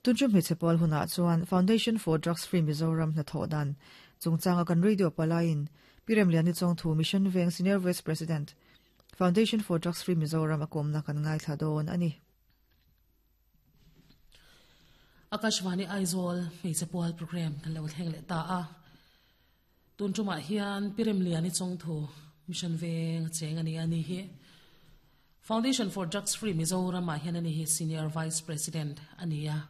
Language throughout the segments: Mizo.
Tunṭum hmeichhe pawl hunah chuan Foundation for Drugs Free Mizoram hnathawh dan chungchanga kan radio palaiin Pi Remliani Chawngthu Mission Veng Senior Vice President, Foundation for Drugs Free Mizoram a kawmna kan ngaithla dawn a ni. Akashvani Aizawl hmeichhe pual program kan lo thleng leh ta a. Tun tumah hian Pi Remliani Chawngthu Mission Veng a cheng a ni a ni hi. Foundation for Drugs Free Mizoram ah hian ani hi Senior Vice President a ni a.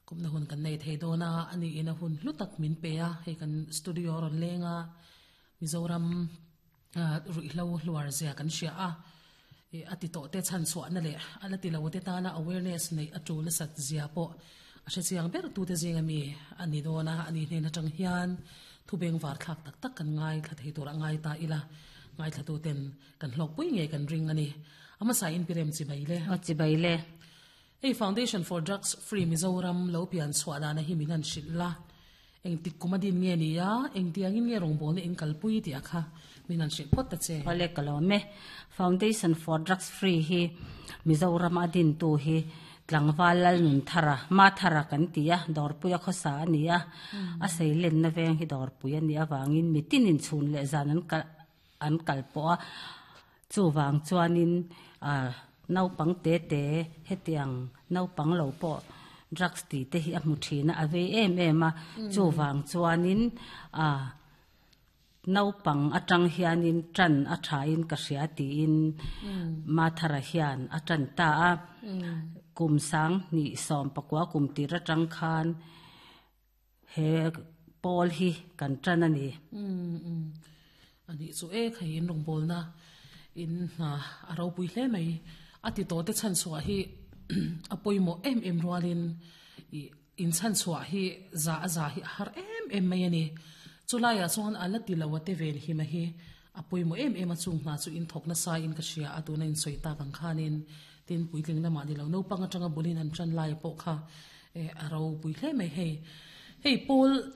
Kumna hun kan nei thei dawn a, ani in a hun hlu tak min pe a, hei kan studio a rawn leng a, Mizoram ruihhlo hluar zia kan hria a, a ti tawh te chhan chhuahna leh a la ti lo te tana awareness neih a tul nasat zia pawh a hre chiang ber tute zinga mi a ni dawn a, ani hnen atang hian thu bengvar thlak tak tak kan ngaithla thei tur a ngai ta ila, ngaithla ten Kan hlawkpui ngei kan ring a ni. A hmasa in pirem chibai le. Aw chibai le. Hei Foundation for Drugs Free Mizoram lo pian chhuah dana hi min han hrilh la. Engtik kum a din nge ni a, engtiangin nge rawngbawlna in kalpui tih a kha min han hrilh phawt ta che. Awle ka lawm e. Foundation for Drugs Free hi Mizoram a dintu hi Tlangval Lalnunthara, Mathara kan ti a, Dawrpuia khawsa a ni a. A seilenna veng hi Dawrpui a nih avangin mitinin chhun leh zan an kalh an kal pawh a, chuvang chuanin ah naupang te te hetiang naupang lo pawh drugs tih te hi a hmu thin a, a vei em em a, chuvang chuanin ah naupang atang hianin tan a thain ka hria tiin Mathara hian a tan ta a, kum sang hnih sawm pakua kum tir atang khan. He pawl hi kan tan a ni. Umm umm. A nih chu e khai in rawngbawlna in hna a ropui hle mai. A ti tawh te chhan chhuah hi a pawimawh em em rualin ih in chhan chhuah hi za a za hi a har em em mai a ni. Chulaiah chuan a la ti lo a te vel hi ma hi a pawimawh em em a chung hna chu in thawk nasa in ka hria a tuna in sawi tak ang khanin tin puitling lamah ni lo naupang atanga bulin an tan lai pawh kha eh a ropui hle mai hei. Hei pawl.